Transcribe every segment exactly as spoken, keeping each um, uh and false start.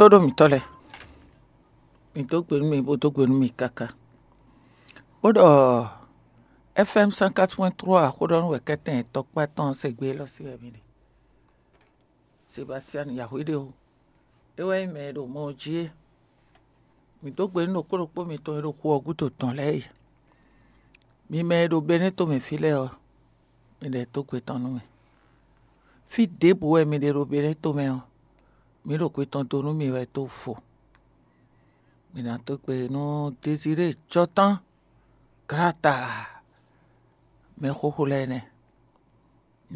Tóɖó mǐtɔn lɛ́ɛ, mǐ dó gbe nú mi, bó dó gbe nú mi káká. Bó ɖɔ F M cent quatre point trois xó ɖɔ nú wɛ̌kɛ́tɛn tɔkpá tɔn sɛgbé élɔ́ sí wɛ mǐ ɖe. Sebastian Yahweh ɖe o, é wɛ nyí mɛ e ɖo mɔ ɔ́ jí é. Mǐ dó gbe nú ɖokpó ɖokpó mitɔn e ɖo xu ɔ́ gúdo tɔn lɛ́ɛ e. Mi mɛ e ɖo Benɛ́ tomɛ fí lɛ́ɛ ɔ́, mi ɖɛ dó gbe tɔn nú mì. Fí ɖěbǔ wɛ mi ɖe ɖo Benɛ́ tomɛ ɔ́, mǐ ɖo gbe tɔn dó nú mi wɛ dó vo. Mǐ ná dó gbe nú Désiré Jɔtán Glata, mɛxóxó lɛ́ɛ nɛ́.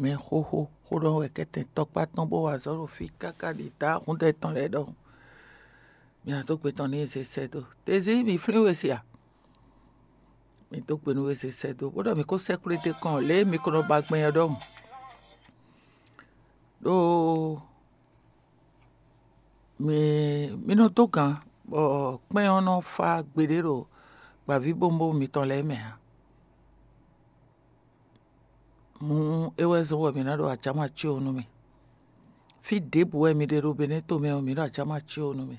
Mɛxóxó xó ɖɔ wɛ kɛ́tɛn tɔkpá tɔn bó wa azɔ̌ ɖo fí káká ɖi dǎ húndɛ tɔn lɛ́ɛ ɖɔhun. Mi ná dó gbe tɔn n'i zé sɛ́ dó. Tezí mi flín we se a? Mi dó gbe nú we zé sɛ́ dó, bó ɖɔ mi kó sɛ́ kplé dó kɔn lě e mi ko nɔ ba gbɛn ɔ́ ɖɔhun. Ɖó mi mi nɔ dó gǎn, bɔ kpɛ́n ɔ́ nɔ fá gbeɖé ɖo gbǎvíbówúnbówún mitɔn lɛ́ɛ mɛ ǎ. Mǔ é wɛ zɔ́n bɔ mǐ ná ɖo ajáma cí ó nú mì. Fí ɖěbǔ wɛ mi ɖe ɖo Benɛ́to mɛ ɔ́, mǐ ɖo ajáma cí ó nú mì.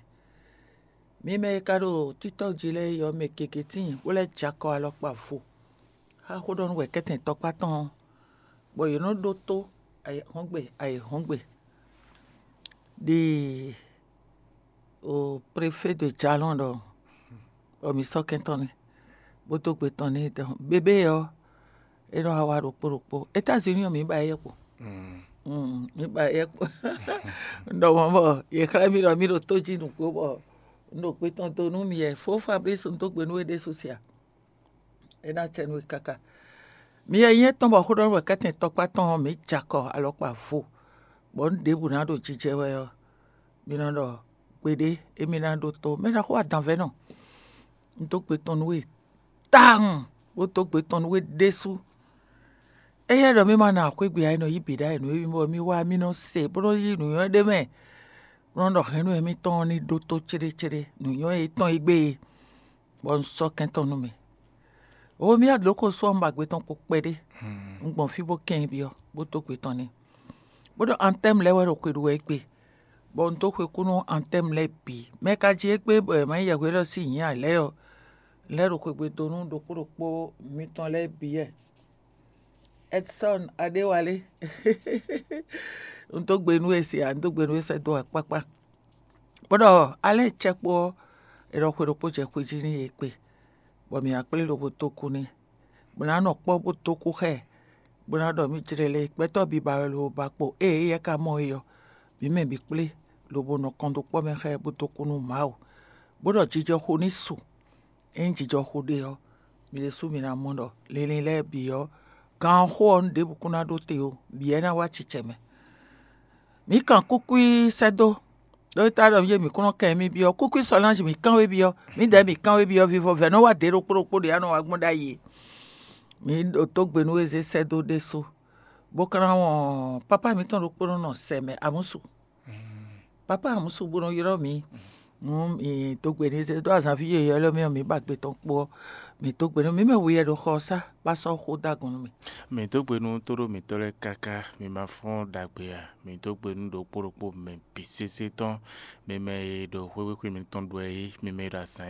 Mi mɛ e ka ɖo títɔ́ jí lɛ́ɛ é ɔ́, mɛ gěgé tíin bó lɛ́ jɛ akɔ alɔkpa vo xá xó ɖɔ nú wɛ̌kɛ́tɛn tɔkpá tɔn ɔ́, bɔ yě nɔ ɖótó ayǐhɔ́ngbe ayǐhɔ́ngbe ɖi o préfé de jalɔn ɖɔ bɔ mǐ sɔ́ kɛntɔ́ n'i, bó dó gbe tɔn n'i ɖɔ bébé ɔ́, é nɔ wá wá ɖokpó ɖokpó. Étazini ɔ́, mǐ ba éyɛ́ kpo. Mm, mǐ ba éyɛ́ kpo. Un ɖɔ mɔ̌ bɔ yě xlɛ́ mì ɖɔ mì ɖo tó jí nǔgbó bɔ un ɖo gbe tɔn dó nú mi wɛ. Fó Fablísi, un dó gbe nú we ɖésú sia. É ná acɛ nú we káká. Mi e nyí étɔn bɔ xó ɖɔ nú wɛ̌kɛ́tɛn tɔkpá tɔn ɔ́, mǐ jɛ akɔ alɔkpa vo, bɔ nǔ ɖěbǔ ná ɖo jijɛ wɛ ɔ́, mi nɔ ɖɔ gbeɖé émí ná ɖótó. Mɛ ɖaxó adanvɛ́nɔ, un dó gbe tɔn nú we tawun, bó dó gbe tɔn nú we ɖésú. Éyɛ́ ɖɔ mì ma ná xwégbe ǎ, é nɔ yí bǐ ɖ'ayǐ nú émí bɔ mì wá mì nɔ se bó nɔ yí nǔnywɛ́ ɖé mɛ, bó nɔ ɖɔ hɛ̌nnu émítɔn ɔ́ ní ɖótó céɖécéɖé, nǔnywɛ́ yětɔn e gbé e, bɔ un sɔ́ kɛntɔ́ nú mi. Oo, mì adlǒ ko sú ɔ́, un ba gbe tɔn kpo kpɛɖé. Un gbɔn fí bó kɛn nyi byɔ́, bó dó gbe tɔn n'i. Bó ɖɔ antɛ́mu lɛ́ɛ wɛ ɖo xwe ɖu wɛ égbé, bɔ un dó xwe kú nú antɛ́mu lɛ́ɛ bǐ. Mɛ ka jí égbé bɔ è ma nyí yɛhweɖɔ sín nyǐ ǎ lɛ́ɛ ɔ́, lɛ́ ɖo xwegbe dó nú ɖokpó ɖokpó mitɔn lɛ́ɛ bǐ wɛ. Edson Adéwalé, un dó gbe nú we se ǎ, un dó gbe nú we sɛ́ dó akpákpá. Bó ɖɔ alɛ́ cɛ́kpó ɔ́, è ɖɔ xwe ɖokpó jɛ xwe jí n'i é kpe, bɔ mǐ ná kplé lobo dó kú n'i, bó ná nɔ kpɔ́ bó dó kú xá ɛ, bó ná ɖɔ mì jlɛ́ lé gbɛtɔ́ biba wɛ lobo ba kpo ée éyɛ́ ka mɔ é ɔ́, mǐ mɛ bǐ kplé lobo nɔ kɔn dó kpɔ́ mɛ xá ɛ bó dó kú nú Mawu, bó ɖɔ jijɔxo ní su. Ényí jijɔxo ɖe ɔ́, mi ɖésú mi ná mɔ ɖɔ linlin lɛ́ɛ bǐ ɔ́, gan ɔ́ xó ɔ́, nǔ ɖěbǔ kún ná ɖó te ó, bǐ wɛ ná wá acicɛ mɛ. Mǐ kan kúkwí sɛ́ dó, ɖó é tá ɖɔ yé mǐ kún nɔ kɛn mì byɔ́. Kúkwí Solange mǐ kán we byɔ́, mǐdɛɛ mǐ kán we byɔ́, vivɔvɛ́ nɔ wá dě ɖokpó ɖokpó ɖě a nɔ wá gbɔn ɖ'ayǐ é. Mǐ ɖo tó gbe nú Ezé sɛ́ dó ɖésú, bó ka ná wɔn pápá mǐtɔn ɖokpó nɔ nɔ sɛ mɛ amúsu. Pápá amúsu bó nɔ ylɔ́ mǐ. Nú mǐ dó gbe nú Ezé ɖó azǎnví yěyɔ́ lɛ́ɛ mɛ ɔ́, mǐ ba gbe tɔn kpo ɔ́, mǐ dó gbe nú mǐ mɛ we wɛ ɖo xɔ ɔ́ sá, bó sɔ́ xó dó agun nú mì. Mǐ dó gbe nú tóɖó mǐtɔn lɛ́ɛ káká, mi ma fɔ́n ɖagbe ǎ. Mǐ dó gbe nú ɖokpó ɖokpó mɛ bǐ sésé tɔn, mi mɛ e ɖo xwéxwéxwé mitɔn ɖu wɛ é, mi mɛ e ɖo azǎn